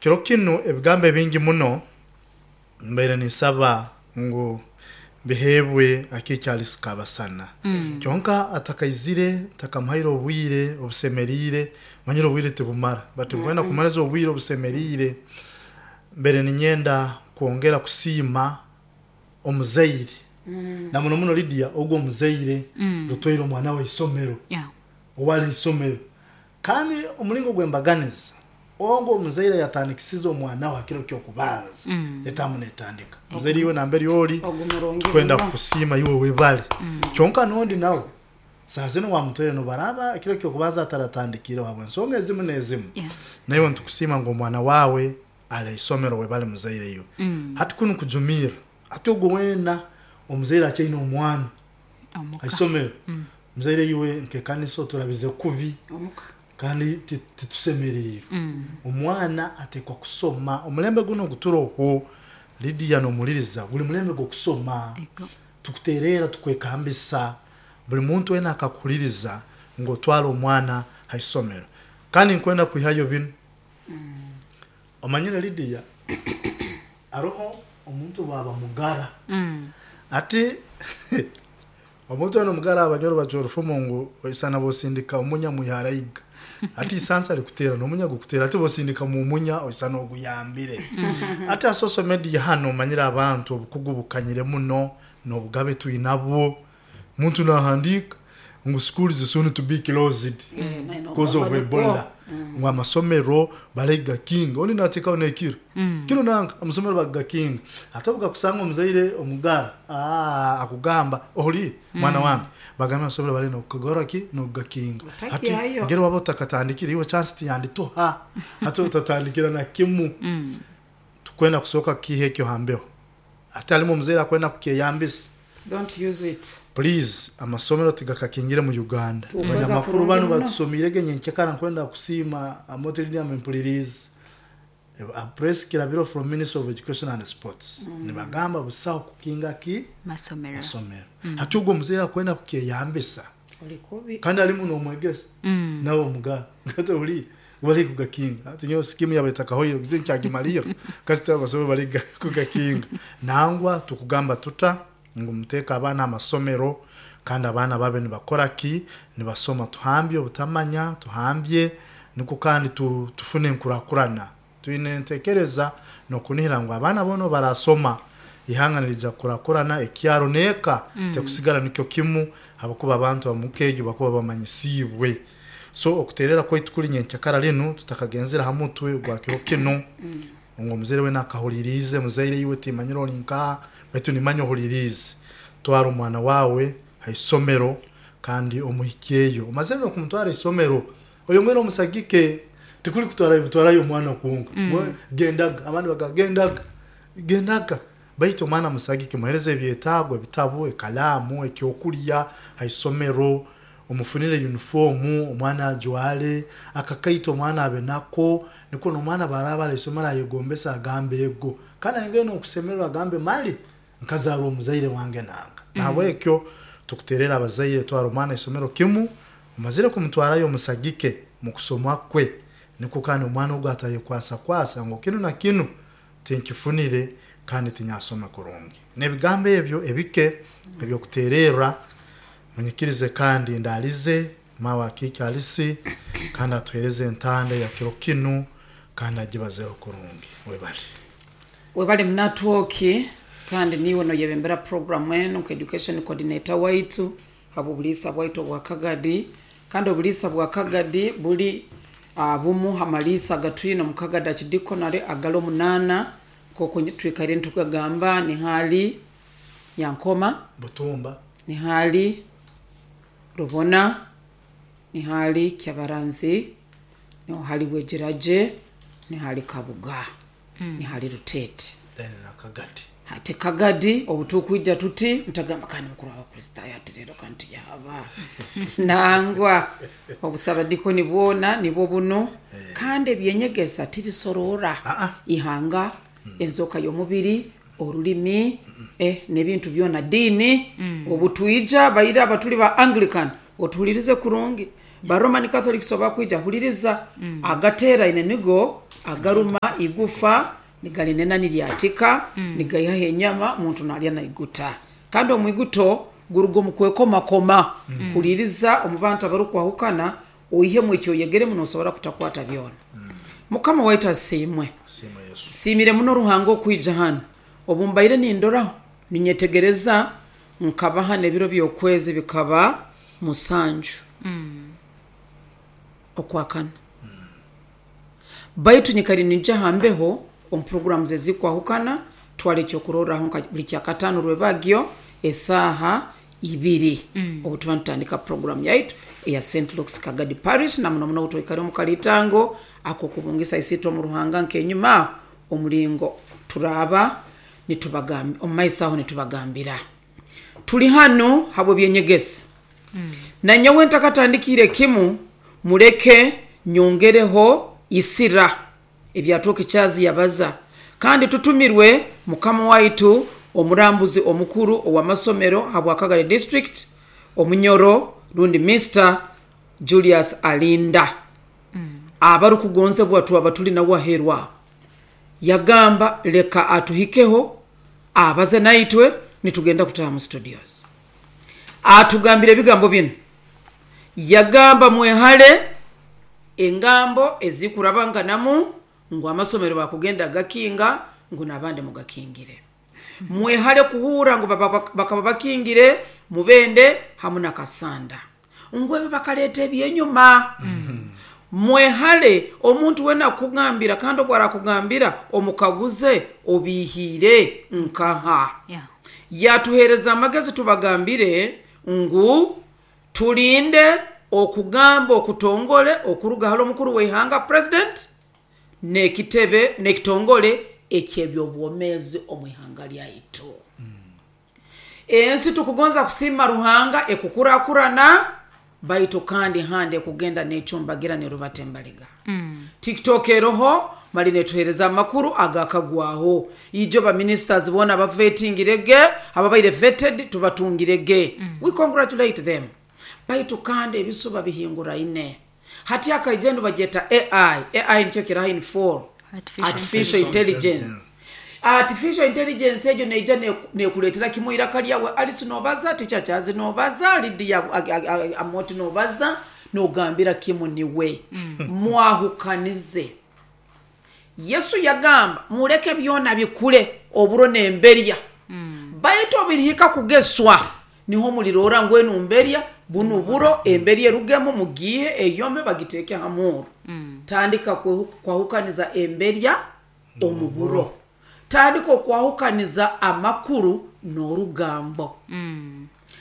Kiro kinu ebigambo ebingi muno mbaire ninsaba ngu biheebwe Akiiki Alice Kabasana. Kyonka atakaizire ntakamuhaire obwire obusemeriire, manyire obwire tibumara but nkwenda kumuhereza obwire obusemeriire. Mbaire ninyenda kwongera kusiima omuzaire na muno muno Lydia ogu omuzaire rutwaire omwana we isomero, owali haisomero. Kandi omulingo gw'embaganiza ogu omuzaire yatandikisize omwana we ha kiro ky'okubanza, etaamu n'etandika. Omuzaire iwe nambere oli, Ogu murungi tukwenda muno. kukusiima iwe webale. Kyonka n'ondi nawe, saaha zinu wamutwaire n'obaraaba ekiro ky'okubanza ataratandikiireho habw'ensonga ezimu n'ezimu, naiwe nitukusiima ngu omwana waawe ali ha isomero webale muzaire iwe. Hati kunu kujumirra, hati ogwo weena omuzaire akyaine omwana Omuka. ha isomero, Muzaire iwe nk'ekanisa oturabize kubi kandi titusemeriirwe. Omwana atekwa kusoma. Omulembe gunu oguturoho Lydia n'omuhuririza guri mulembe gw'okusoma. Tukutereera tukwekambisa buri muntu weena akakuhuririza ngu otware omwana ha isomero. Kandi nkwenda kwihayo binu. Omanyire Lydia haroho omuntu obwaba mugara ati Omuntu weena omugara abanyoro bacwa orufumo ngu oisana bosindika omunya mwihara iga. Hati isansa rikuteera nomunya gukuteera hati bosindikamu omunya oisana oguyambire. Hati ha social media hanu omanyire abantu obukugu bukanyire muno nobugabe twinabwo. Omuntu nahandiika ngu schools soon to be closed because of Ebola. Ngu amasomero barigakinga ondi nateekaho nekiro. Kiro nanka amasomero bagakinga. Hati obu gakusanga omuzaire omugara aah akugamba ohuriire mwana wange bagambe amasomero bari nokukagora ki nokugakinga. Hati Otakyayo. ngeri waba otakatandikire iwe chance tiyandituha hati otatandikira na kimu. Tukwenda kusooka kukiiha ekyo ha mbeho. Hati harimu omuzaire akwenda kukyeyambisa. Don't use it. Please amasomero tigakakingire mu Uganda. Tukwega Abanyamakuru kurungi banu muno. batusomiirege nyenkekara nkwenda kusiima Amooti Lydia mpuliriize. A press kirabiro from Ministry of Education and Sports nibagamba busaho kukinga ki? Masomero. Masomero. Hati ogwo omuzaire akwenda kukyeyambisa Oli kubi. kandi arimu nomwegesa nawe omugara hati ohuriire bari kugakinga hati nyowe sikimu yaba etakahoire kuza nkyagimalirra kasita amasomero bari kugakinga. Nangwa tukugamba tuta ngu muteeke abaana aha masomero kandi abaana babe nibakora ki? Nibasoma. Tuhambye obutamanya, tuhambye nikwo kandi tufune enkurakurana. Twine entekereza n'okunihira ngu abaana boona obu barasoma, ihanga niriija kukurakurana, ekyaro n'eka tekusigara nikyo kimu habwokuba abantu ab'omuka egyo bakuba bamanyisiibwe. So okuteerera kwaitu kuri nyenkyakara rinu tutakagenzire aha mutwe gwa kiro kinu. Ngu omuzaire weena akahuririize, muzaire iwe timmanyire ori nkaha, baitu nimmanya ohuririize. Twara omwana waawe ha isomero kandi omuhikyeyo. Omazire n'okumutwara ha isomero, oyongere omusagike. Tikuri kutwarayo butwarayo omwana kwonka. Gendaga, abandi bagamba gendaga, gendaga. Baitu omwana musagike, muhereze ebyetaago, ebitabu, ekalaamu, ekyokulya ha isomero, omufunire yunifoomu omwana ajwale, akakaito omwana abe nako, nikwo n'omwana obu araaba ari ha isomero ayegombese agambe ego. Kandi ayongere n'okusemererwa agambe mali nkazaarwa omuzaire wange nanga. Nahabwekyo tukuteerera abazaire twara omwana ha isomero kimu, omazire kumutwarayo omusagike mu kusoma kwe nikwo kandi omwana ogu atayekwasakwasa ngu kinu na kinu tinkifunire kandi tinyasome kurungi. N'ebigambo ebyo ebike eby'okuteererra, munyikirize kandi ndaalize maawe akiike Alisi kandi atuheereze entanda eya kiro kinu kandi agibazeeho kurungi. Webale. Webale Munatwoki kandi niiwe noyebembera puroguramu enu nka Education Coordinator waitu habw'obuliisa bwaitu obwa Kagadi. Kandi obuliisa bwa Kagadi buli bumu ha maliisa agatwine omu Kagadi Archdeaconry agali omunaana nk'oku twikaire nitugagamba nihali Nyankoma, Butumba. nihali Rubona, nihali Kyabaranzi, nihali Bwegiragye, nihali Kabuga, nihali Ruteete. Then na Kagadi. Hati Kagadi obu tukwija tuti mutagamba kandi mukuru w'Abakristaayo ati leero kandi tiyahaba. Nangwa obusabadikoni bwona nibwo bunu kandi eby'enyegesa tibisoroora ihanga, enzooka y'omubiri, orulimi, n'ebintu byona, diini. Obu twija baira abatuli ba Anglican otuhulirize kurungi, ba Roman Catholics obu bakwija huliriza, agateeraine nigo. Agaruma igufa nigalinena niryatika, nigaihaho enyama, omuntu nalya naiguta. Kandi omwiguto guruga omu kwekomakoma, huliriza omu bantu abarukwahukana, oihemu ekyoyegeremu, nosobora kutakwata byona. Mukama waitu asiimwe. Siima Yesu. Nsiimire muno Ruhanga okwija hanu. Obu mbaire nindoraho, ninyetegereza, nkaba hanu ebiro by'okwezi bikaba 7 okwakana. Baitu nyikari ninja ha mbeho omu programs ezikwahukana, twala ekyokurorraho nka buli kyakataano rwebagyo esaaha 2 obu tuba nitutandika program yaitu eya St. Luke's Kagadi Parish, na muno muno obu twikare omu kalitango ak'okubungisa isiitwe omu Ruhanga nk'enyuma aho omulingo turaaba nitubagamba omu maiso aho nitubagambira. Tuli hanu habw'ebyenyegesa. Na nyowe ntakatandikiire kimu, muleke nyongereho isira ebyatooka Charles yabaza. Kandi tutumirwe mukama waitu omurambuzi omukuru ow'amasomero habwa Kagadi District, Omunyoro rundi Mr. Julius Alinda. Abarukugonzebwa twaba tuli nawe aheeru aho. Yagamba leka atuhikeho abaze naitwe, nitugenda kutaaha mu studios. Atugambire ebigambo binu. Yagamba mwehale engambo ezikurabanganamu ngu amasomero bakugenda gakinga ngu n'abandi mugakingire. Mwehale kuhurra ngu bakaba bakingire Mubende hamu na Kasanda, ngu ebi bakaleeta ebyenyuma. Mwehale omuntu wena akugambira, kandi obu arakugambira omukaguze obihiire nkaha. Yatuheereza amagezi tubagambire ngu tulinde okugamba okutongole okuruga hali omukuru w'eihanga president n'ekitebe n'ekitongole eky'eby'obwomeezi omu ihanga lyaitu. Ensi tukugonza kusiima Ruhanga ekukurakurana, baitu kandi handi ekugenda n'ecumbagira nerubata embaliga. TikTok eroho mali netuheereza amakuru agakagwaho. Ijo ba ministers boona abavetingire ge, ababaire vetted tubatungire ge. We congratulate them. Baitu kandi ebisuba bihinguraine. Hati akaija enu bagyeta AI. AI nikyo kiraha in full. Artificial intelligence. Artificial intelligence egyo neija nekuleetera kimu iraka lyawe. Alice nobaza, Teacher Charles nobaza, Lydia Amoti nobaza, nogambira kimu niwe. Mwahukanize. Yesu yagamba muleke byona bikule oburo n'emberya, baitu obirihika kugeswa niho mulirora ngu enu mberya, bunu buro, emberya erugemu mugiihe eyome bagiteeke ha muuro. Tandika kwahukaniza emberya omu buro. Tandika okwahukaniza amakuru n'orugambo.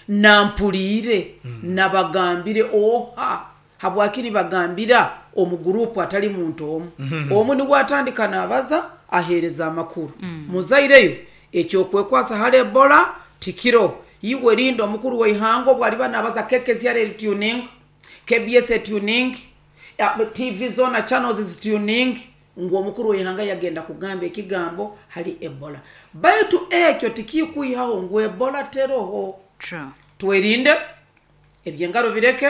Nampuliire, nabagambire oha? Habwaki nibagambira omu guruupu atali muntu omu? Omu nubwo atandika nabaza, aheereza amakuru. Muzaireyo, eky'okwekwasa hali Ebola tikiro. Iwe rinda omukuru w'eihanga obu aliba nabaza KKCR eri tuning, KBS etuning, TV zoona channels zituning, ngu omukuru w'eihanga yagenda kugamba ekigambo hali Ebola. Baitu ekyo tikikwihaho ngu Ebola teroho. Twerinde, eby'engaro bireke,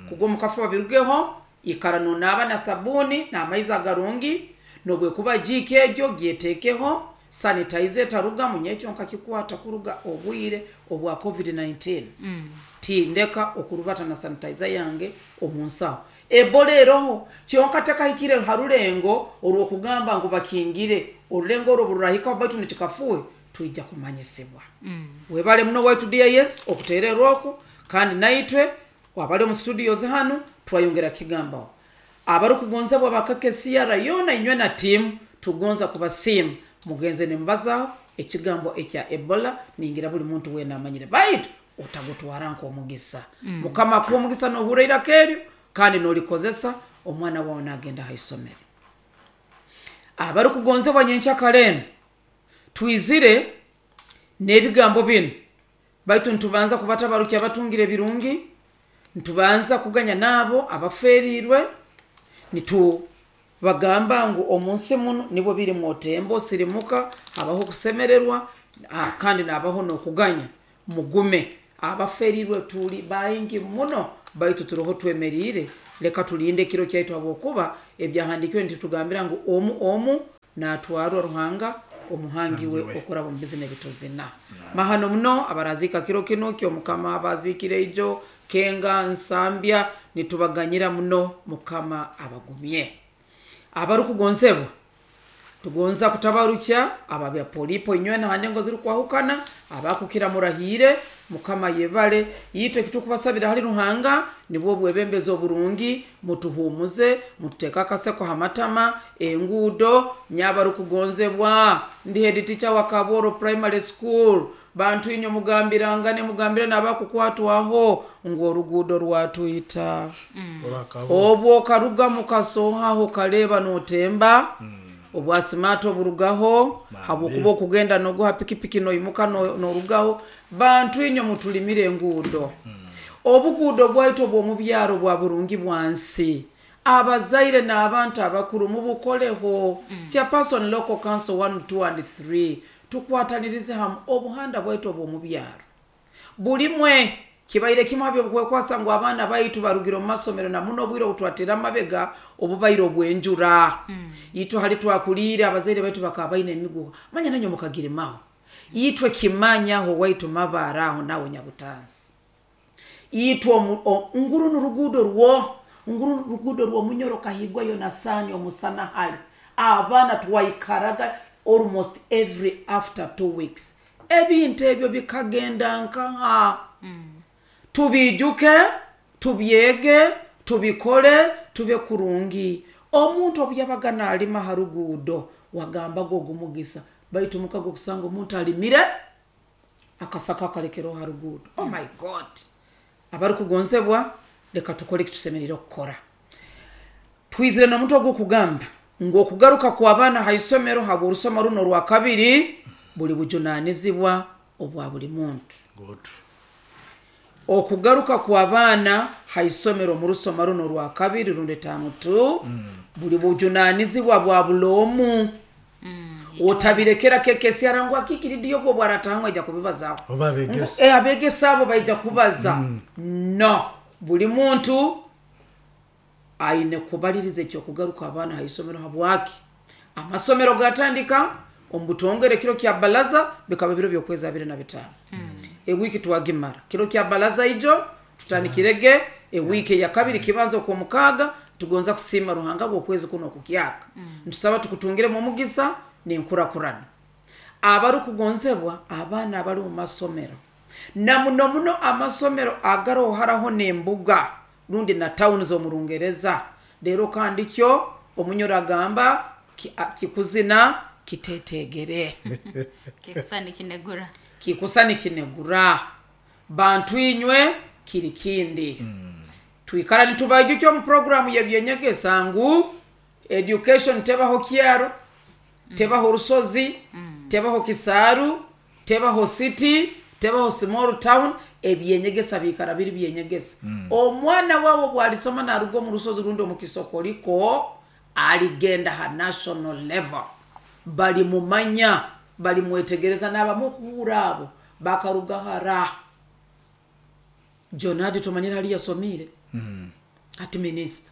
kugwa omu kafuba birugeho, ikara nonaaba na sabuuni n'amaizi agarungi, n'obwekuba jiiki egyo gyeteekeho, sanitizer etarugamu, nyekyo nkakikwata kuruga obwire obwa COVID-19. Tindeka okurubata na sanitizer yange omu nsaho. Ebola eroho, kyonka tekahikire ha rulengo orw'okugamba ngu bakingire. Orulengo oru obu rurahikaho baitu nikikafuuhe, twija kumanyisibwa. Webale muno waitu DIS okuteererwa oku, kandi naitwe abali omu studios hanu twayongera kigambaho. Abarukugonzebwa ba KKCR yoona inywe na tiimu tugonza kubasiima. Mugenze nimubazaho ekigambo ekya Ebola, ningira buli muntu weena amanyire, baitu otagutwara nk'omugisa. Mukama akuhe omugisa nohurra iraka eryo kandi nolikozesa, omwana wawe nagenda ha isomero. Abarukugonzebwa nyenkyakara enu, twizire n'ebigambo binu, baitu nitubanza kubatabarukya abatungire ebirungi, nitubanza kuganya n'abo abaferiirwe, nitubagamba ngu omu nsi munu nibwo biri mwotemba osirimuka, habaho okusemererwa, kandi nabaho n'okuganya. Mugume. Abaferiirwe tuli baingi muno, baitu turoho twemeriire. Leka tulinde ekiro kyaitu, habwokuba ebyahandiikirwe nitutugambira ngu omu omu natwarwa Ruhanga omuhangi we okuraba omu bizina ebituzina. Mahano muno abaraziika kiro kinu kyomukama abaziikire ijo Kenga Nsambya, nitubaganyira muno, Mukama abagumye. Abarukugonsebwa, tugonza kutabarukya ababya polipo inywena ha ndengo zirukwahukana, abakukira murahiire, Mukama yebale. Itwe ekitukubasabira hali Ruhanga nibwo obwebembezi oburungi, mutuhumuze, mututeeke akaseko ha matama, enguudo. Nyabarukugonzebwa, ndi head teacher wa Kaboro Primary School. Bantu inywe mugambirangane, mugambire n'abakukwatwaho ngu oruguudo rwatwita. Obwo okaruga mukasohaho okaleba notemba, obwasimaata oburugaho, habwokuba okugenda noguha pikipiki noimuka norugaho. Bantu inywe mutulimire enguudo. Obuguudo bwaitu obw'omubyaro bwa burungi bwansi, abazaire n'abantu abakuru mubukoleho. Chairperson Local Council 1, 2 and 3, tukwatanirize hamu obuhanda bwaitu obw'omubyaro bulimwe. Kibaire kimu ha byobukwekwasa ngu abaana baitu barugire omu masomero, na muno obwire obutwatera amabega obubaire obwenjura. Itwe hali twakuliire, abazaire baitu bakaba baine emiguha, manya nanywe mukagirimaho. Itwe kimanyaho waitu mabara aho nawe Nyabutansi, itwe nguru nuruguudo rwo nguru ruguudo rw'omunyoro kahigwa Yonasani omusana hali abaana twaikaraga almost every after 2 weeks. Ebintu ebyo bikagenda nkaha? Tubiijuke, tubyege, tubikole, tube kurungi. Omuntu obu yabaga naalima ha ruguudo wagambaga ogumugisa, baitu mukaga okusanga omuntu alimire akasaka akalekereho ha ruguudo. Oh my God! Abarukugonzebwa, leka tukole ekitusemeriire okukora. Twizire n'omuntu ogw'okugamba ngu okugaruka kw'abaana ha isomero habw'orusoma runo orwa kabiri buli bujunanizibwa obwa buli muntu. Okugaruka kw'abaana ha isomero omu rusoma runo orwa kabiri rundi tamu tu buli bujunanizibwa bwa buli omu. Otabirekera kekesyara ngu akikiridiyo gwe obwaratahamu aija kubibazaho. Oba abegesa. Abegesa abo baija kubaza. No, buli muntu aine kubaliriza ekyokugaruka abaana ha isomero. Habwaki amasomero gatandika omu butongore kiro kya balaza bikaba biro by'okwezi 25. Ewiiki twagimara kiro kya balaza ijo tutandikirege ewiiki eya kabiri kibanza okw'omukaaga. Tugonza kusiima Ruhanga bw'okwezi kuno okukyaka, ntusaba tukutungiremu omugisa n'enkurakurana. Abarukugonzebwa, abaana abali omu masomero, na muno muno amasomero agaroho haraho n'embuga rundi na tawuni z'omu Rungereza, leero kandi kyo omunyoro agamba kikuzina kitetegere. Kikusani kinegura. Kikusani kinegura. Bantu inywe kiri kindi. Twikara nitubaijukya omu puroguramu y'ebyenyegesa ngu education tebaho kyaro, tebaho rusozi, tebaho kisaaru, tebaho city, tebaho small town. Ebyenyegesa biikara biri byenyegesa. Omwana wawe obwalisoma naruga omu rusozi rundi omu kisokoliko, aligenda ha national level, balimumanya, balimwetegereza, n'abamu okuhura abo bakaruga hara. Jonadi tumanyire hali yasomiire, hati minisita.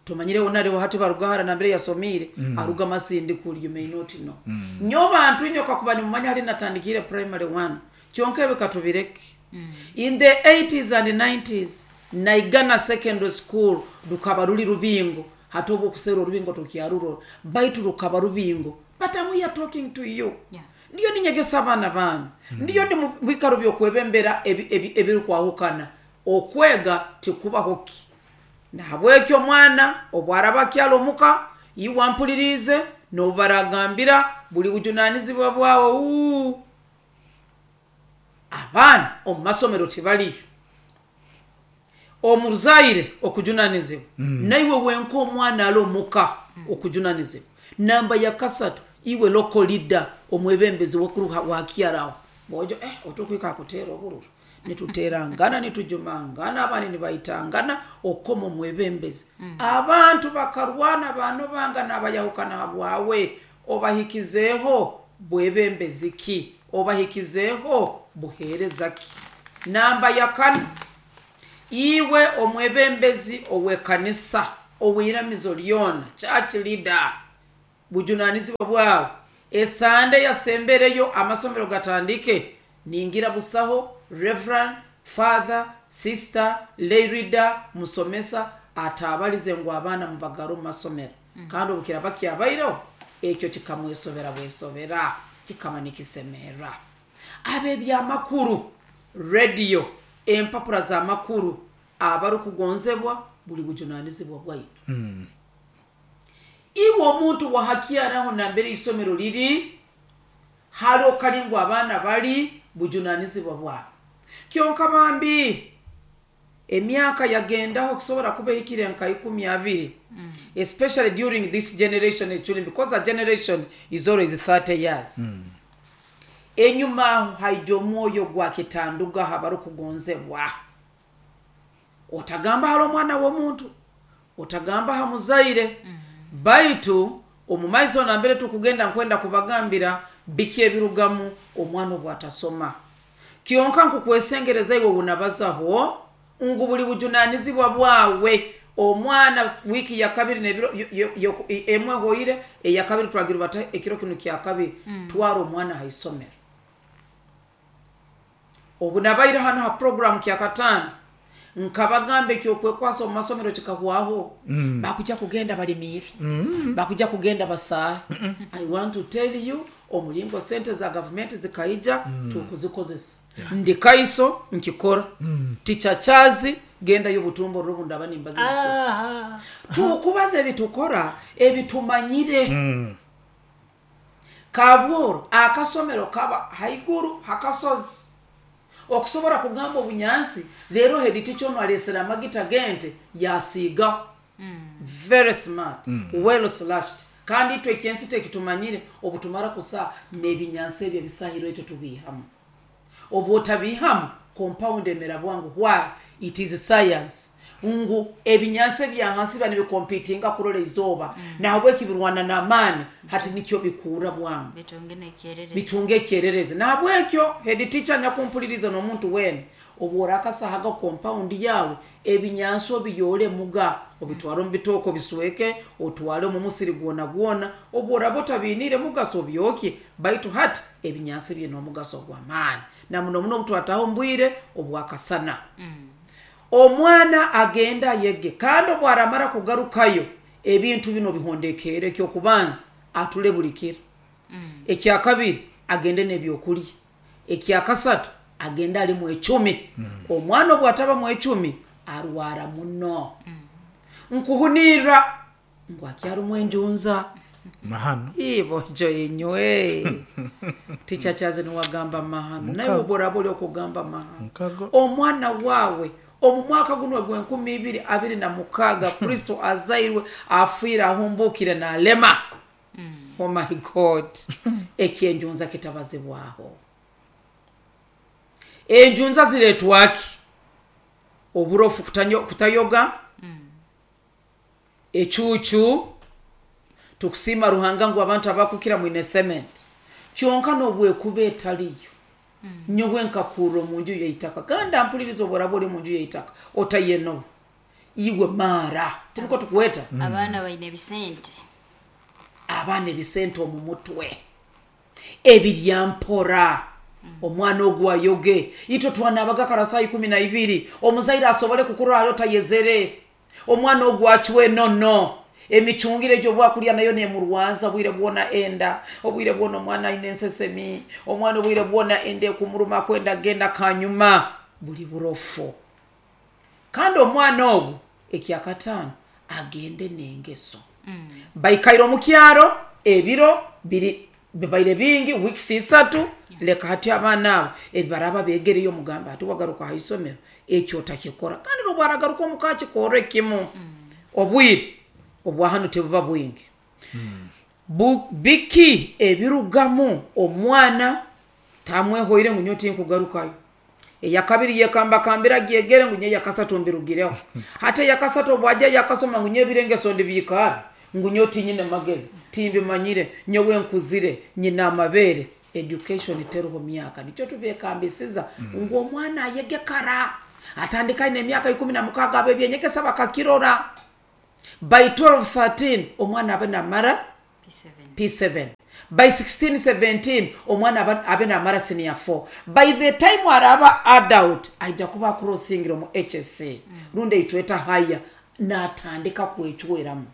Tumanyire wona hati baruga hara nambere yasomiire, aruga Masindi kuli, you may not know. Nyo bantu inyo kakuba nimumanya hali natandikire primary 1, kyonka ebyo katubireke. In the 80s and 90s, Naigana Secondary School rukaba ruli rubingo, hati obu okusera orubingo tukyarurora, baitu rukaba rubingo. But I'm here talking to you. Ndiyo ninyegesa abaana banyu, ndiyo ndi mu bikaro by'okwebembera ebirukwahukana. Okwega tikubaho ki. Nahabwekyo omwana obwaraba akyali omuka, iwe ampuliriize, n'obu baragambira buli bujunanizibwa bwawe. Uu abaana omu masomero tibaliyo. Omuzaire okujunanizibwa, naiwe wenka omwana ali omuka okujunanizibwa. Namba ya kasatu, iwe local leader, omwebembezi wakuru wakyaraho bojo, otukwika kutera obururu, nituterangana, nitujumangana, abandi nibaitangana okoma omwebembezi. Abantu bakarwana banobanga n'abayahukana habwawe. Obahikizeeho bwebembezi ki? Obahikizeeho buheereza ki? Namba ya kana, Iwe omwebembezi ow'ekanisa ow'iramizo lyona, church leader, bujunanizibwa bwawe. Esande yasembereyo amasomero gatandike, ningira busaho reverend father, sister, lay leader, musomesa atabalize ngu abaana mubagara omu masomero. Kandi obukiraba kyabaireho ekyo kikamwesobera bwesobera, kikaba nikisemera. Ab'ebyamakuru, radio, empapura z'amakuru, abarukugonzebwa buli bujunanizibwa bwaitu. Iwe omuntu wahakyaraho nambere isomero liri, hali okali ngu abaana bali bujunanizibwa bwawe. Kyonka bambi emyaka yagendaho kusobora kuba ehikire nka 20, especially during this generation echuli, because a generation is always 30 years. Enyuma aho haija omwoyo gwa kitandugaho abarukugonzebwa. Otagamba hali omwana w'omuntu, otagamba ha muzaire, baitu omu maiso nambere tukugenda nkwenda kubagambira biki ebirugamu omwana obwatasoma. Kyonka nkukwesengereza iwe wunabazaho ngu buli bujunanizibwa bwawe. Omwana wiki ya kabiri nebiro emwe hoire eya kabiri twagira bata ekiro kino kya kabiri, twara omwana ha isomero. Obu nabaire hano ha program kya katano nkabagamba ekyokwekwasa omu masomero kikahwaho. Bakuja kugenda balimire, bakuja kugenda basahe. I want to tell you, omulingo sente za gavumenti zikaija, tukuzikozesa. Ndi kaiso nkikora. Tichachazi genda y'obutumbo rubu ndaba nimbaza ebisoro. Tukubaza ebitukora ebitumanyire. Kabworo akasomero kaba haiguru hakasozi. Okusobora kugamba obunyansi rero head teacher ono alesera amagita gente yasigaho. Very smart, well slashed. Kandi itwe ekyensi tekitumanyire obutumara kusa n'ebinyansi ebyo ebisahiro itwe tubihamu. Obu otabihamu compound emera bwangu. Why? It is science. Ngu ebinyansi ebya hansi biba nibikompitinga kurola izooba. Nahabweki birwana n'amaani hati nikyo bikuura bwangu. Bitunge n'ekyererezi. Bitunge ekyererezi. Nahabwekyo head teacher nyakumpuliriza n'omuntu weena, obu orakasahaga compound yawe ebinyansi obiyore muga, obitware omu bitooke obisweke, otware omu musiri gwona gwona, obu oraba otabiniire mugaso obyokye, baitu hati ebinyansi biine omugaso gw'amaani. Na muno muno obutwataho omu bwire obwakasana. Omwana agenda ayege, kandi obu aramara kugarukayo ebintu bino bihondekere. Ekyokubanza atule buli kiro, ekyakabiri agende n'ebyokulya, ekyakasatu agende ali mwecumi. Omwana obu ataba mwecumi arwara muno. Nkuhunirra ngu akyarimu enjunza. Mahano. Ibonjo inywe. Tichachaze niwagamba mahano. Naye oboraba oli okugamba mahano. Mukago. Omwana wawe omu mwaka guno ogw'enkumi ibiri abiri na mukaga Kristo azairwe, afiire, ahumbukire n'alema. Oh my God. Ekyenjunza kitabazibwaho. Enjunza ziretwaki? Oburofu kutayoga, ecucu, tukusima Ruhanga ngu abantu abakukira mwine cement. Kyonka n'obwekuba etaliyo. Nyowe nkakurra omu nju y'eitaka. Kandi ampuliriza oboraba ori omu nju y'eitaka, otayenoba. Iwe maara. Tiniko tukweta. Abaana baine ebisente. Abaana ebisente omu mutwe. Ebiryampora. Omwana ogu ayoge. Itwe twanabaga kara saa 12. Omuzaire asobole kukurora hali otayezere. Omwana ogu acwe nono. Emicungire egyo bwakulya nayo nemurwaza obwire bwona enda. Obwire bwona omwana aine ensesemi. Omwana obwire bwona enda ekumuruma kwenda genda kanyuma. Buli burofu. Kandi omwana ogu ekyakataano agende n'engeso. Baikaire omu kyaro ebiro biri bibaire bingi, weeks 3, leka hati abaana abo ebibaraba begereyo omugamba hati wagaruka ha isomero ekyo otakikora. Kandi n'obu aragaruka omu ka akikorre kimu. Obwire obwa hanu tebuba bwingi. Biki ebirugamu omwana tamwehoire ngu nyowe tinkugarukayo. Eyakabiri yekambakambira gyegere ngu nyowe eyakasatu mbirugireho. Hati eyakasatu obwajja yakasoma ngu nyowe ebirengeso ndibiikara, ngu nyowe tinyine magezi, timbimanyire, nyowe nkuzire, nyina amabere. Education teruho myaka. Nikyo tubekambisiza ngu omwana ayege kara. Atandika aine emyaka 16, abo ebyenyegesa bakakirora. By 12 13 omwana abe namara P7. P7. By 16 17 omwana abe namara senior 4. By the time araba adult aija kuba crossingira mu HSC rundi eitweta haya, natandika kwecweramu.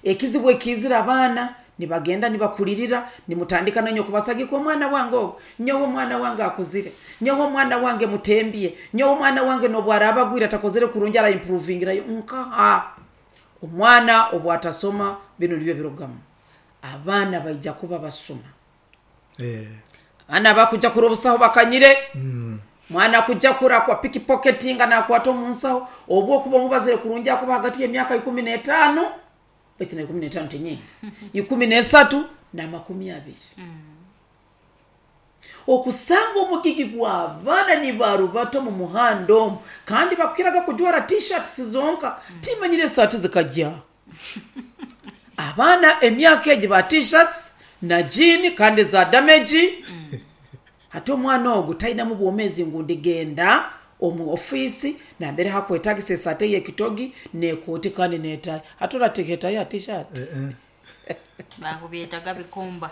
Ekizibu ekizira abaana nibagenda nibakulirira, nimutandika nanyo kubasagika omwana wange ogwo, nyowe omwana wange akuzire, nyowe omwana wange mutembye, nyowe omwana wange nobwaraba agwire atakozere kurungi ara improvingirayo. Nkaha omwana obwatasoma bino nibyo birugamu. Abaana baija kuba basoma. Abaana bakuja kura obusaho bakanyire. Mwana kuja kura kwa pickpocketing nakwata omunsaho, obwo okuba omubazire kurungi akuba hagati y'emyaka 15, baitu na 15 tenyingi, 13 na 20. Okusanga omugigi gw'abaana nibarubata omu muhanda omu, kandi bakukiraga kujwara t-shirts zonka, timanyire esaati zikajya. Abaana emyaka egi ba t-shirts na jean kandi za damage. Hati omwana ogu tainamu bwomezi ngu ndigenda omu ofiisi nambere hakwetagisa esaati ey'ekitogi n'ekooti kandi n'etayi. Hati orateeka etayi ha t-shirt? Bakubyetaga bikumba.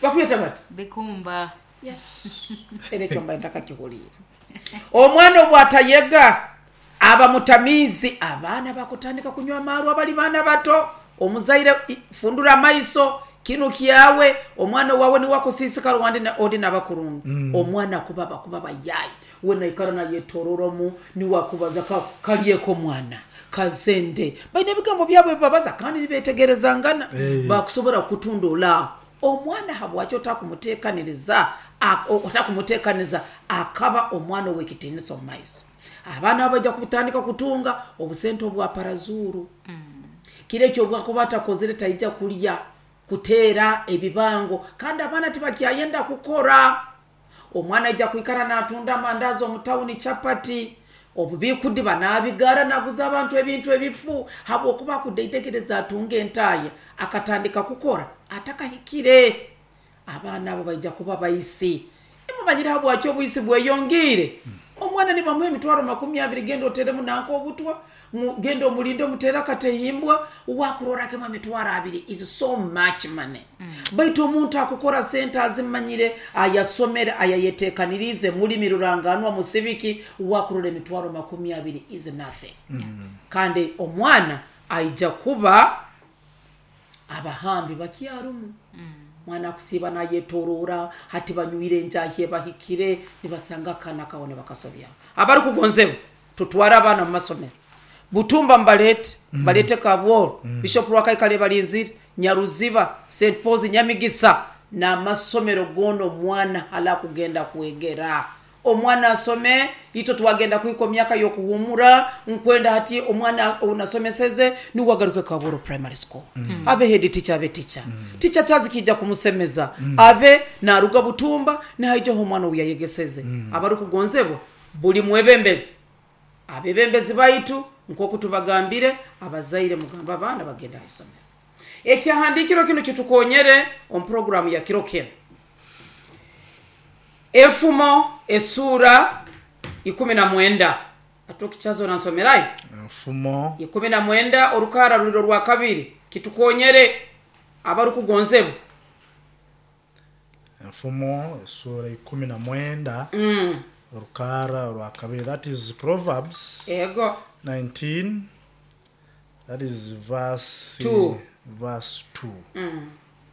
Bakubyeta bati? Bikumba. Yes. Era ekyo mbaye ntakakihuliire. Omwana obwatayega aba mutamiizi, abaana bakutandika kunywa amaarwa bali baana bato. Omuzaire fundura amaiso, kinu kyawe, omwana wawe niwe akusiisikara ondi nabakurungi. Omwana kuba bakuba bayayi, we naikara nayetororomu, niwe akubaza kalyeko omwana kazende. Baine ebigambo byabwe bibabaza kandi nibetegerezangana. Bakusobora kutundula omwana. Habwaki otakumutekaniriza, otakumutekaniza akaba omwana ow'ekitiinisa omu maiso. Abaana abo baija kutandika kutunga obusente obwa parazuru. Kiro ekyo obwakuba atakozere taija kulya, kuteera ebibango, kandi abaana tibakyayenda kukora. Omwana aija kwikara natunda amandazi omu tawuni, chapati, obubikudiba nabigara naguza abantu ebintu ebifu, habwokuba akudaidegereza atunga entaaya akatandika kukora atakahikire. Abaana abo baija kuba baisi. Emumanyire habwaki obwisi bweyongiire? Omwana nibamuha emitwaro 20, genda oteremu nanka obutwa, genda omulinde omutere akatehimbwa, wakurorako emitwaro 20 is so much money. Baitu omuntu akukora sente azimanyire, ayasomere, ayayetekanirize, mulimi ruranganwa musibiki, wakurora emitwaro 20 is nothing. Kandi omwana aija kuba abahambi bakyarumu. Mwana akusiiba nayetorora, hati banywire enjahi ebahikire, nibasanga akaana kawe nibakasobyaho. Abarikugonzebwa tutware abaana mu masomero. Butumba mbalete, balete Kabworo, Bishop Rwakaikale balinzire, Nyaruziba, St Paul's Nyamigisa, n'amasomero goona omwana hala kugenda kwegera. Omwana asome, itwe twagenda kuhika myaka y'okuhumura, nkwenda hati omwana onasomeseze niwe agaruke Kabworo Primary School. Abe head teacher, abe teacher. Teacher kyazikija kumusemeza, abe naruga Butumba nihaijaho omwana obu yayegeseze. Abarikugonzebwa buli mwebembezi, abebembezi baitu nk'oku tubagambire, abazaire mugamba abaana bagenda ha isomero. Ekyahandiikiro kinu kitukonyere omu programu ya kiro kinu. Enfumo esura 19. Atokichazo nansomerayo? Enfumo 19 orukara ruliro rwa kabiri kitukonyere abarukugonzebwa. Enfumo esura 19 orukara rwa kabiri, that is Proverbs. Ego. 19, that is verse 2. Verse 2.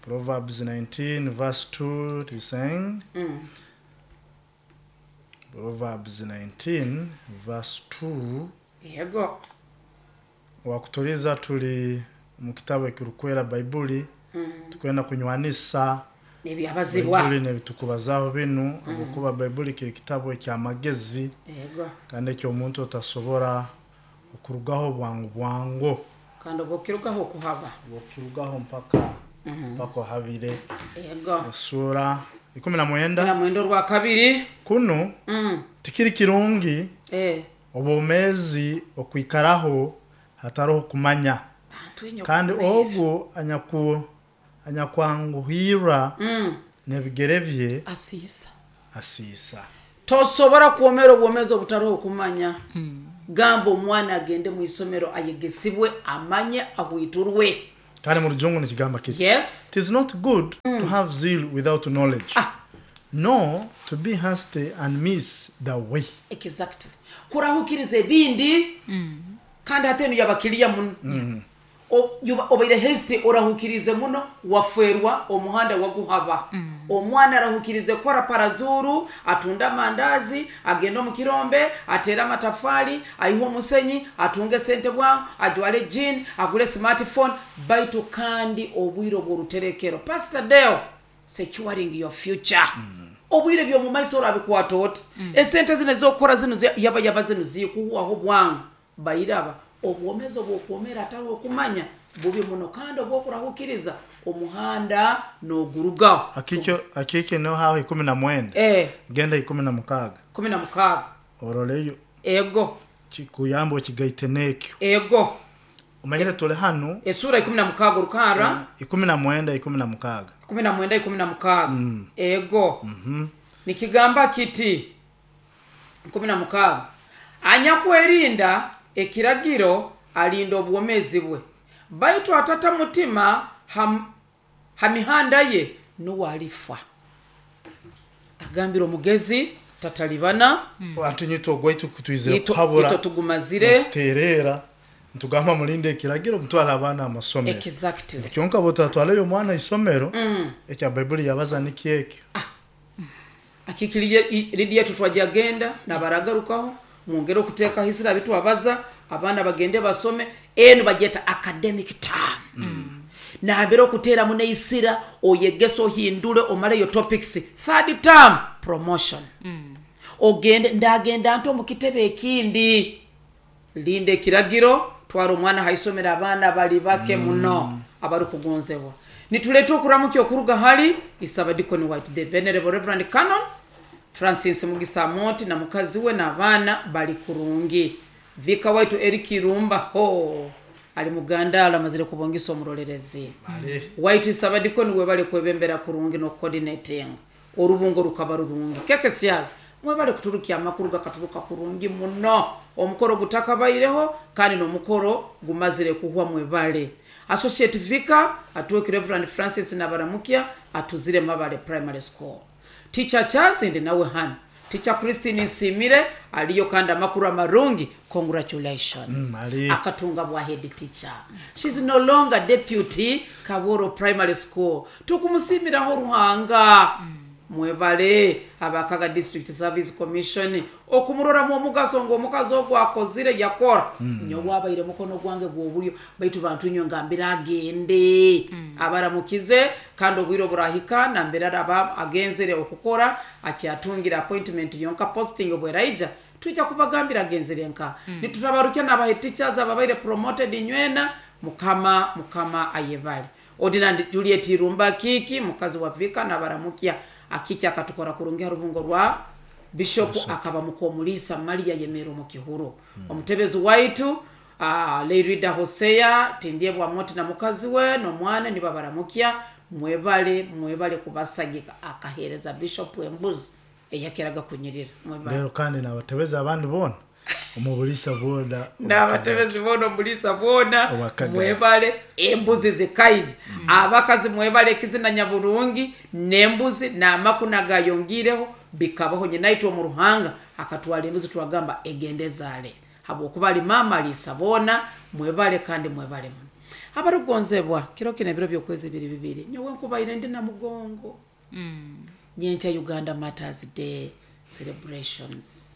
Proverbs 19 verse 2, it is saying, Proverbs 19 verse 2. Ego. Wakutuliza tuli mu kitabu ekirukwera Baibuli, tukwenda kunywanisa nebyabazibwa Baibuli nebitukubazaho binu, habwokuba Baibuli kiri kitabu ekyamagezi. Ego. Kandi ekyomuntu otasobora okurugaho bwangu bwangu. Kandi obwokirugaho okuhaba. Obwokirugaho mpaka ohabire. Ego. Esura 19. 19 orwa kabiri. Kuno tikiri kirungi obwomezi okwikaraho hataroho kumanya. Kandi ogwo anyakwanguhirra n'ebigere bye asiisa. Asiisa. Tosobora kwomera obwomezi obutaroho okumanya. Gamba omwana agende mu isomero ayegesibwe, amanye, ahwiturwe. Kandi mu rujungu nikigamba kiti: Yes. It is not good to have zeal without knowledge, nor to be hasty and miss the way. Exactly. Kurahukiriza ebindi, kandi hati enu yabakiriya muno. Obaire hasty, orahukirize muno, waferwa omuhanda waguhaba. Omwana arahukirize kora parazuru, atunda amandazi, agenda omu kirombe, atere amatafali, aihe omusenyi, atunge sente bwangu, ajwale jean, agule smartphone. Baitu kandi obwire obw'oruterekero, Pastor Deo, securing your future, obwire by'omumaiso orabikwata oti? Esente zino ezokukora zino yaba yaba zino zikuhwaho bwangu. Bairaba obwomezi obwokwomera atariho okumanya bubi muno, kandi obwokurahukiriza omuhanda nogurugaho. Akikyo akike no haho 19. Genda 16. 16. Oroleyo. Ego. Kikuyamba okigaite n'ekyo. Ego. Omanyire tuli hanu. Esura 16 rukara. 19, 16. 19, 16. Ego. Nikigamba kiti 16: anyakwerinda ekiragiro alinda obwomezi bwe, baitu atata mutima ha mihanda ye nuwe alifa. Agambira omugezi tatalibana. Ati nyito ogwaitu kutwizira kuhabura ito tugumazire kuterera, ntugamba mulinde ekiragiro, mutwale abaana amasomero. Kyonka botatwaleyo omwana isomero, ekya Baibuli yabaza nikyo ekyo. Akikiriye Lidiya, tutwajagenda nabaragarukaho, mwongere okuteekaho isira bitwabaza, abaana bagende basome. Enu bagyeta academic term. Nambere okuteeramu neisira, oyegese, ohindule, omaleyo topics. Third term, promotion. Ogende ndagenda nti omu kitebe ekindi. Linda ekiragiro, twara omwana haisomero. Abaana bali bake muno abarikugonzebwa. Nituleta okuramukya okuruga hali isabadikoni white, the Venerable Reverend Canon Francis Mugisa Moti na mukazi we n'abaana bali kurungi. Vika waitu Eric Irumba ho ali mugandala, amazire kubongisa omurolerezi waitu isabadikoni. Webale kwebembera kurungi no coordinating orubungo rukaba rurungi. Keke syalo mwebale kuturukya amakuru gakaturuka kurungi muno omukoro gutakabaireho kandi n'omukoro gumazire kuhwa. Mwebale. Associate vicar atuweki Reverend Francis Nabaramukya atuzire Mabale Primary School. Teacher Chazindi nawe hano, Teacher Christine Nsimire aliyo, kandi amakuru amarungi, congratulations. Ali. Akatunga bwa head teacher. She's no longer deputy. Kaboro Primary School, tukumusimiraho Ruhanga. Mwebale abakaga District Service Commission okumuroramu omugaso ngu omukazi ogwo akozire yakora. Nyowe abaire mukono gwange gw'obulyo, baitu bantu nyo ngambira agende. Abaramukize, kandi obwire oburahika nambere araba agenzere okukora akyatungire appointment yonka. Posting obweraija tujja kubagambira agenzere nka. Nitutabarukya n'abahe teachers ababaire promoted nywena. Mukama mukama ayebale. Ordinand Juliet Irumba Kiki, mukazi wa vika, nabaramukya. Akiki akatukora kurungi harubungo rwa bishop, akaba mukomulisa Maria yemera omu kihuro. Omutebezi waitu Leirida Hosea Tindyebwa Moti na mukazi we n'omwana nibabaramukya. Mwebale, mwebale kubasagika. Akahereza bishop embuzi eyakeraga kunyirira. Mwebale. Rero kandi nabatebeza abandi bona omubulisa bwona. N'abatebezi bona omulisa bwona. Owakagari. Mwebale embuzi zikaija. Abakazi mwebale ekizina nyaburungi n'embuzi n'amakuna gayongireho bikabaho. Nyinaitwe omu Ruhanga akatwara embuzi, twagamba egende zaale habwokuba ali maama aliisa boona. Mwebale kandi mwebale muno. Abarukugonzebwa, kiro kino ebiro by'okwezi biri bibiri, nyowe nkubaire ndi na mugongo. Nyenkya Uganda Martyrs Day celebrations,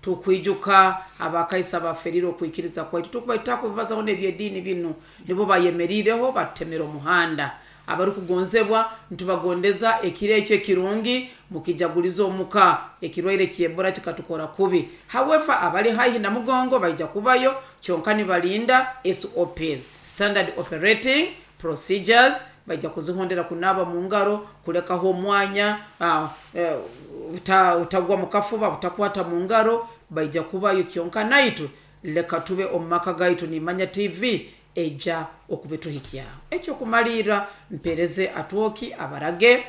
tukwijuka abakaisa baferire okwikiriza kwaitu. Tukubaita kubibazaho n'ebyediini binu, nibo bayemerireho batemera omuhanda. Abarikugonzebwa, ntubagondeza ekiro ekyo ekirungi mukijaguliza omuka. Ekirwaire kyebora kikatukora kubi. However, abali haihi na mugongo baija kubayo, kyonka nibalinda SOPs, standard operating procedures, baija kuzihondera: kunaba mu ngaro, kulekaho omwanya, utagwa mukafuba, utakwata mu ngaro. Baija kubayo, kyonka naitwe leka tube omu maka gaitu. Nimanya TV eja okubituhikyaho. Ekyokumalirra, mpereze atwoki abarage.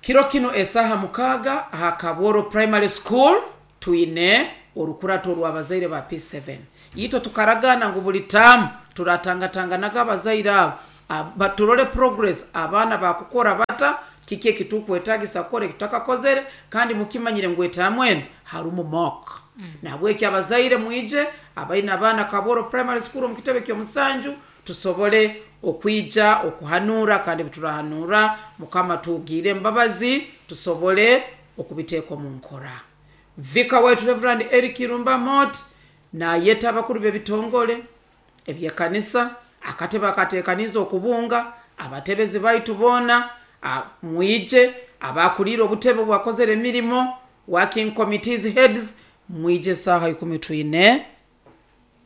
Kiro kino esaha 6 aha Kabworo Primary School twine orukurato rw'abazaire ba P7. Itwe tukaragana ngu buli tamu turatangatanganaga abazaire abo baturole progress, abaana bakukora bata, kiki ekitukwetagisa kukora ekitakakozere, kandi mukimanyire ngu etamu enu harumu mock. Nahabweki abazaire mwije abaine abaana Kabworo Primary School omu kitebe ky'omusanju, tusobole okwija okuhanura, kandi biturahanura Mukama tugiire embabazi tusobole okubiteeka omu nkora. Vika waitu Reverend Eric Irumba Mot nayeta abakuru b'ebitongole ebyekanisa, akatebe akatekaniza okubunga abatebezi baitu boona, mwije abakulire obutebe bwakozere emirimo, working committees heads, mwije saaha 10 twine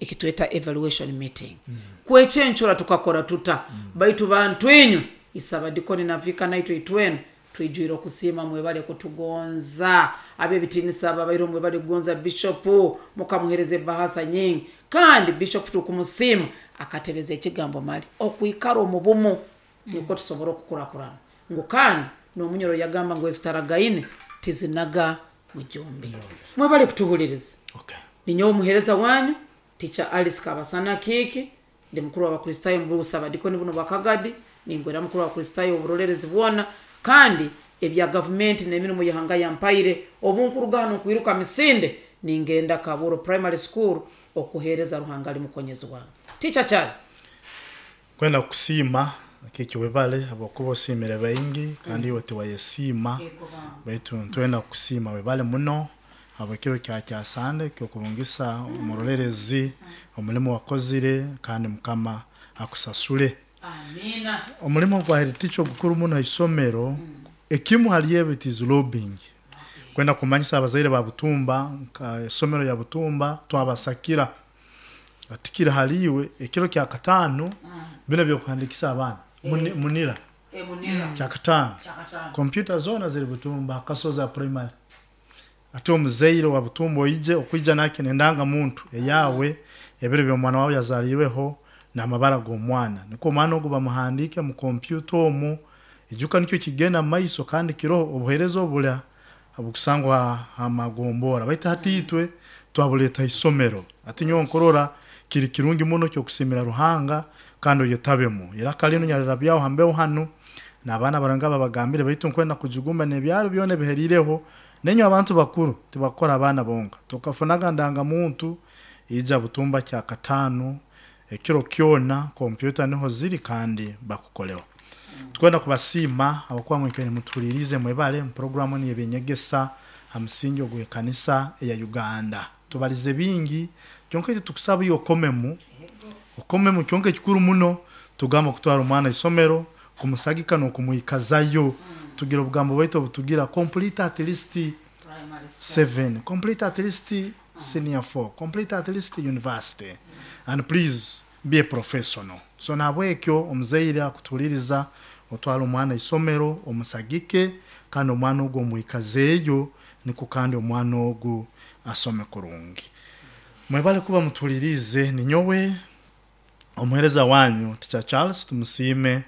ekitweta evaluation meeting. Kwekyencura tukakora tuta, baitu bantu inywe isabadikoni na vika naitwe itwena twijwire okusiima, mwebale kutugonza ab'ebitinisa ababaire mwebale kugonza bishopu, mukamuhereza ebahasa nyingi, kandi bishopu tukumusiima akatebeza ekigambo mali okwikara omu bumu nikwo tusobora okukurakurana, ngu kandi n'omunyoro yagamba ngu ezitaragaine tizinaga mujumbi. Mwebale kutuhuliriza. Ninyowe omuhereza wanyu Teacher Alice Kabasana Kiiki, ndi mukuru w'Abakristaayo mu busabadikoni buno bwa Kagadi, ningwera mukuru w'Abakristaayo oburolerezi bwona, kandi ebya gavumenti n'emirimo y'ihanga yampaire, obu nkuruga hano nkwiruka misinde ningenda Kabworo Primary School okuheereza Ruhanga ali mukonyezi wange. Teacher Charles. Kwenda kusiima kiki webale habwokuba osiimire baingi kandi iwe tiwayesiima, baitu ntwenda kusiima webale muno habw'ekiro kya kyasande ky'okubungisa omurolerezi omulimu wakozire, kandi Mukama akusasule. Amina. Omulimu gwa head teacher ogukuru muno ha isomero, ekimu hali ebyo it is lobbying. Kwenda kumanyisa abazaire ba Butumba nka isomero ya Butumba twabasakira atikiri hali iwe ekiro kya 5 bino byokuhandikisa abaana munira kya 5 kompyuta zona ziri Butumba Kasozi primary. Ate omuzaire wa Butumba oije okuija nake nendanga muntu eyawe ebiro by'omwana wawe yazalirweho n'amabara g'omwana, nikwo omwana ogu bamuhandike mu kompyuta omu ijuka nikyo kigenda mu maiso, kandi kiroho obuheereza obula obukusangwa hamagombora, baitu hati itwe twabuleta isomero. Ati nyowe nkurora kiri kirungi muno kyokusimira Ruhanga kandi oyetabemu iraka linu nyalirabyaho hambeho hanu n'abaana baranga babagambire, baitu nkwenda kujugumba n'ebyaro byona ebiherireho nenyo abantu bakuru tibakora abaana bonka tukafunaga ndanga muntu ija Butumba kya 5 ekiro kyona kompyuta niho ziri kandi bakukoleho. Tukwenda kubasiima abakuba mwikere mutulirize mwebale mu programu ni ebinyegesa ha musingi ogw'ekanisa eya Uganda. Tubalize bingi kyonka ekyo tukusaba iyo okomemu kyonka ekikuru muno tugamba kutwara omwana isomero kumusagika n'okumwikazayo, tugira obugambo bwaitu obutugira complete at least 7, complete at least senior 4, complete at least university, and please be a professional. So nahabwekyo omuzaire akutuliriza otwara omwana isomero omusagike, kandi omwana ogu omwikazeeyo niko kandi omwana ogu asome kurungi. Mwebale kuba mutulirize, ninyowe omuhereza wanyu Teacher Charles Tumusiime,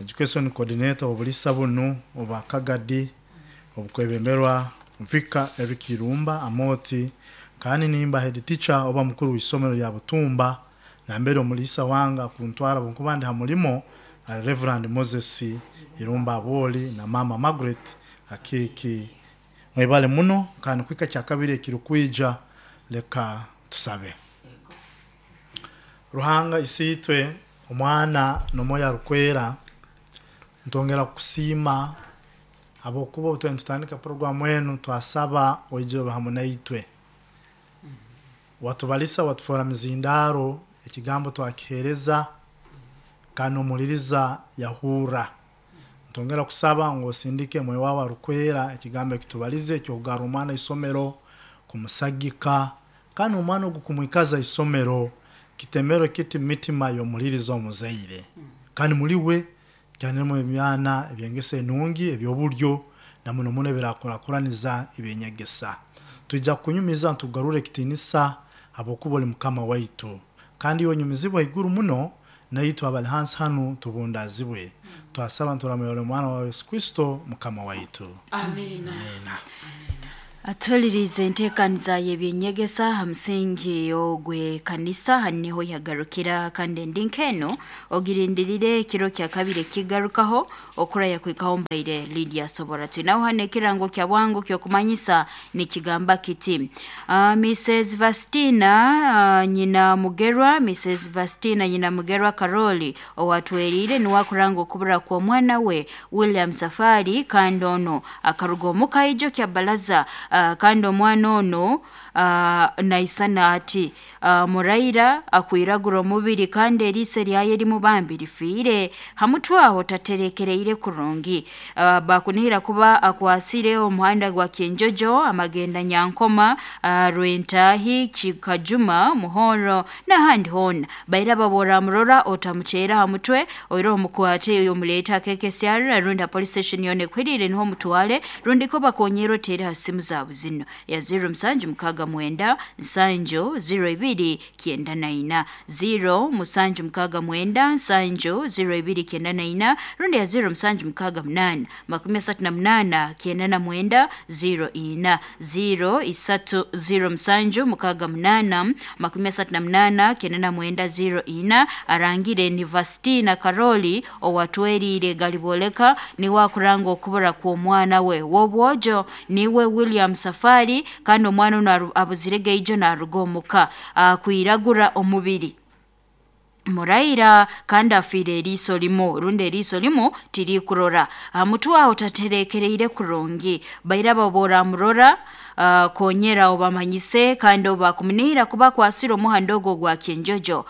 education coordinator obulisa bunu oba Kagadi obukwebemberwa Vika Eric Irumba Amoti, kandi nimba head teacher oba mukuru w'isomero lya Butumba, nambere omulisa wanga kuntwara bunkuba ndi ha mulimo Reverend Moses Irumba Aboli na Mama Margaret Akiki. Mwebale muno kandi kwika kya kabiri ekirukwija leka tusabe. Ruhanga isitwe omwana n'omwoyo arukwera, ntongera kusiima habwokuba obu tutandika programu enu twasaba oije obe hamu naitwe, watubalisa watufora mizindaro, ekigambo twakihereza kandi omuliriza yahura. Ntongera kusaba ngu osindike mwoyo wawe arukwera ekigambo ekitubalize ekyokugarra omwana isomero kumusagika, kandi omwana ogu kumwikaza isomero kitemero kiti mitima y'omuliriza omuzaire, kandi muliwe kyaniremu emyana ebyengeso enungi ebyoburyo na muno muno ebirakurakuraniza ebyenyegesa. Twija kunyumiza ntugarure ekitinisa habwokuba oli Mukama waitu, kandi iwe onyumizibwa iguru muno Naitwe abali hansi hanu tubundazibwe. Twasaba nturamuyore omwana wa Yesu Kristo mukama waitu. Amina. Amina. Atulirize enteekaniza y'ebyenyegesa ha musingi ogw'ekanisa niho yagarukira, kandi endi nk'eno ogirindirire ekiro kya kabiri ekigarukaho okuraya kwikaho mbaire Lydia Sobora. Twinaho hano ekirango kya bwangu ky'okumanyisa nikigamba kiti Mrs Vastina nyina Mugerwa, Mrs Vastina nyina Mugerwa Karoli owatwerire niwe akuranga okubura kw'omwana we William Safari, kandi ono akaruga omuka ijo kya balaza. Kandi omwana ono naisana ati muraira akwiragura omubiri, kandi eriiso eryaye rimubambi rifiire hamutwaho taterekereire kurungi. Bakunihira kuba akwasire omuhanda gwa Kyenjojo, amagenda Nyankoma, Rwentahi, Kikajuma, Muhoro n'ahandi hoona. Baira babora murora otamuceera ha mutwe oira omukwate omuleeta akekesyarra rundi ha police station yona ekwirire niho omutwale, rundi ko bakonyera oteere ha simu zaabo zino ya 0 musanju mukaga mwenda nsanju 0 ibiri kyenda na ina, 0 musanju mukaga mwenda nsanju 0 ibiri kyenda na ina, rundi ya 0 musanju mukaga munana makumi asatu na munana kyenda na mwenda 0 ina, 0 isatu 0 musanju mukaga munana makumi asatu na munana kyenda na mwenda 0 ina. Arangire ni Vastina Karoli owatwerire galiboleka niwe akuranga okubura kw'omwana we w'obwojo niwe William Safari, kandi omwana ono abuzire ijo naruga omuka akwiragura omubiri muraira, kandi afiire eriiso limu rundi eriiso limu tirikurora mutwaho taterekereire kurungi. Baira babora murora konyera obamanyise, kandi obakumunihira kuba kwasira omuhanda ogwo gwa Kyenjojo,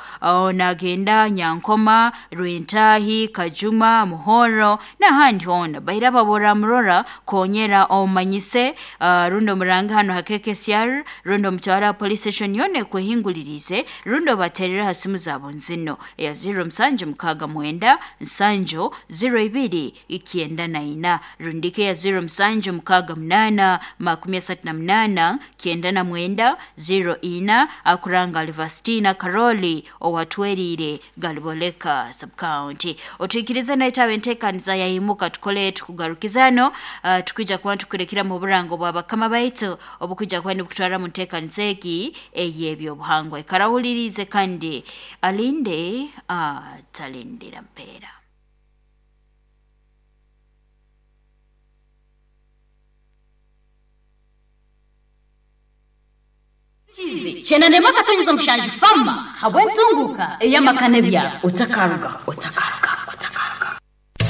nagenda Nyankoma, Rwentahi, Kajuma, Muhoro n'ahandi hoona. Baira babora murora konyera omanyise, rundi omurange hano ha KKCR, rundi omutwara police station yona ekwehingulirize, rundi obaterera ha simu zaabo nzino ya 0 musanju mukaga mwenda nsanju 0 ibiri ikyenda na ina, rundike ya 0 musanju mukaga munana makumi asatu na munana kyenda na mwenda 0 ina. Akuranga Alvastina Karoli owatwerire Galiboleka subcounty. Otwikirize naitawe enteekaniza yayimuka tukole tukugarukizano, tukwija kuba tukurekera mu burango bwa bakama baitu obukwija kuba nibukutwara mu nteekaniza egi ey'ebyobuhangwa. Ikarawulirize kandi alinde atalindira mpeera. Chenande makatonyeza mushanju fama habwentunguka eyamakane bya otakaruga otakaruga otakaruga.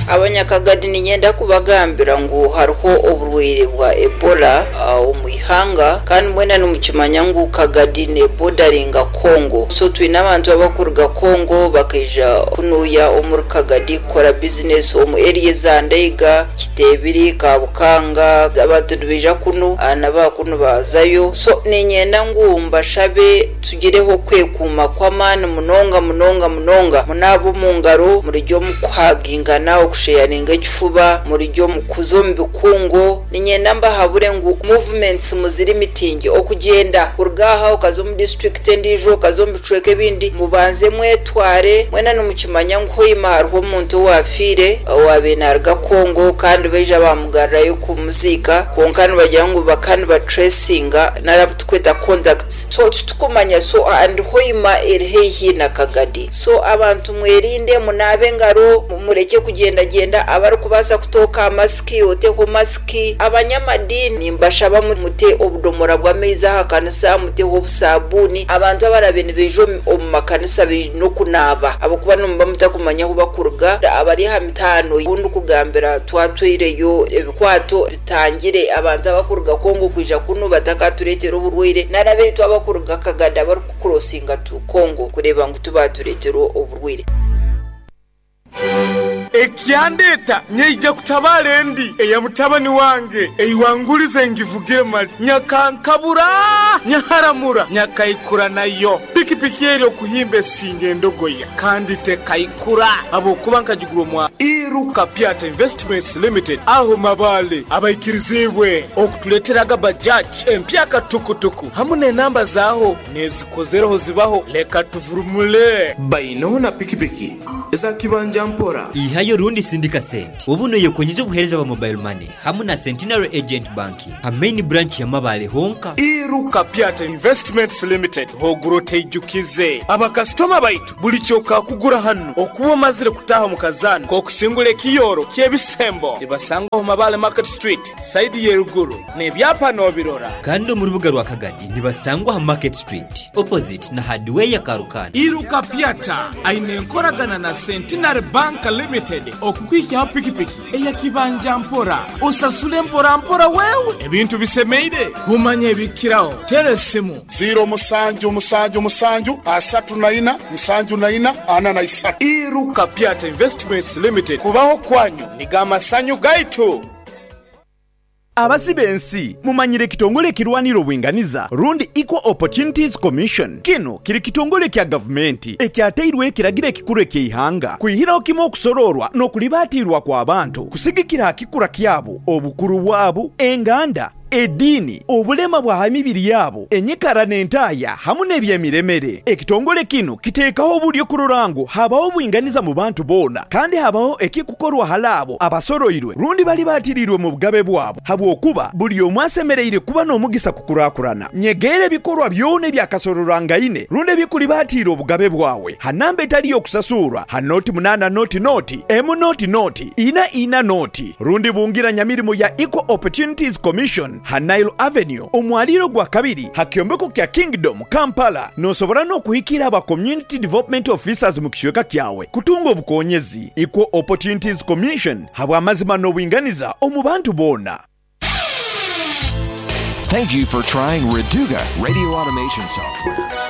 Abanyakagadi ninyenda kubagambira ngu hariho oburwaire bwa Ebola omu ihanga, kandi mwena nimukimanya ngu Kagadi ne bordaringa Congo. So twine abantu abakuruga Congo bakaija kunuya omuri Kagadi kukora business omu area za Ndeiga, Kitebiri, Kabukanga. Abantu nibaija kunu n'abakunu bazayo. So ninyenda ngu mbashabe tugireho kwekuuma kw'amaani munonga munonga munonga, munaaba omu ngaro, murijya omu kuhagingana, okusheyaringa ekifuba, murijya omu kuza omu bikungu. Ninyenda mbahabure ngu movements muziri mitingi, okugyenda kuruga aha okaza omu district endiijo, okaza omu bicweka ebindi, mubanze mwetware. Mwena nimukimanya ngu hoima hariho omuntu owafiire owabaire naruga Congo, kandi baija bamugarurayo kumuziika, kwonka nibagira ngu bakaba nibatracinga nari tukweta contacts. So titukumanya, so and hoima eri haihi na Kagadi. So abantu mwerinde, munaabe engaro, mureke kugenda genda. Abarikubaasa kutooka masiki oteho masiki. Abanyamadini mbashaba mute obudomora bw'amaizi aha kanisa, muteho obusabuni. Abantu abarabe nibaija omu makanisa baine okunaaba ahabw'okuba nimuba mutakumanya ahu bakuruga. Abari aha mitaano obundi kugambira twatwireyo ebikwato bitangire abantu abakuruga Congo kwija kunu batakatureetera oburwaire, nari abaitu abakuruga Kagadi abarikukurosinga tu Congo kureeba ngu tubatureetera oburwaire. Ekyandeta nyeija kutabala endi eya mutabani wange eiwangulize ngivugire mali nyakankabura nyaharamura nyakaikura nayo pikipiki eri okuhimba esinga endogoya kandi tekaikura abokuba nkagigura omwa. Iruka Pyata Investments Limited agho Mabaale abaikiriziibwe okutuleeteraga Bajaj empyaka tukutuku hamu n'enamba zaaho n'ezikozereho zibaho. Leka tuvurumule. Bainho na pikipiki eza kibanja mpora. Ihayo rundi sindika sente obu noyekonyeza obuhereza bwa mobile money hamu na Centenary Agent Banking ha main branch ya Mabaale honka. Iruka Pyata Investments Limited hogura oteijukize. Abakasitoma baitu buli kyokakugura hanu okuba omazire kutaaha omu kazaano k'okusingura ekiyooro ky'ebisembo nibasangwa omu Mabaale Market Street sayidi y'eruguru n'ebyapa n'obirora. Kandi omu rubuga rwa Kagadi nibasangwa ha Market Street opposite na Hardware Karukanda. Iruka Pyata aine enkoragana na Centenary Bank Limited okukuhikyaho pikipiki eya kibanja mpora osasule mpora mpora wewe. Ebintu bisemeire kumanya ebikukiraho tera esimu. Ziiro musanju musanju musanju asatu na ina nsanju na ina ana na isatu. Iruka Pyata Investments Limited kubaho kwanyu nigo amasanyu gaitu. Abasi b'ensi, mumanyire ekitongole ekirwanira obwinganiza rundi Equal Opportunities Commission? Kinu kiri kitongole kya gavumenti ekyatairweho ekiragiro ekikuru eky'eihanga kwihiraho kimu okusoroorwa n'okulibaatiirwa kw'abantu kusigikira ha kikura kyabo, obukuru bwabo, enganda, ediini, obulema bwa ha mibiri yabo, enyikara n'entaaya hamu n'eby'emiremere. Ekitongole kinu kiteekaho obulyo kurora ngu habaho obwinganiza mu bantu boona kandi habaho ekikukorwa hali abo abasoroirwe rundi balibaatiriirwe mu bugabe bwabo habwokuba buli omu asemereire kuba n'omugisa kukurakurana. Nyegeera ebikorwa byona ebyakasororwangaine rundi ebikulibaatiira obugabe bwawe ha namba etali y'okusasurwa ha noti munaana noti noti emu noti noti ina ina noti rundi bungira nyamirimo ya Equal Opportunities Commission ha Nile Avenue omwaliiro gwa kabiri ha kyombeko kya Kingdom, Kampala. Nosobora n'okuhikira aba Community Development Officers mu kicweka kyawe kutunga obukonyezi. Equal Opportunities Commission habw'amazima n'obwinganiza omu bantu boona. Thank you for trying Reduga Radio Automation Software.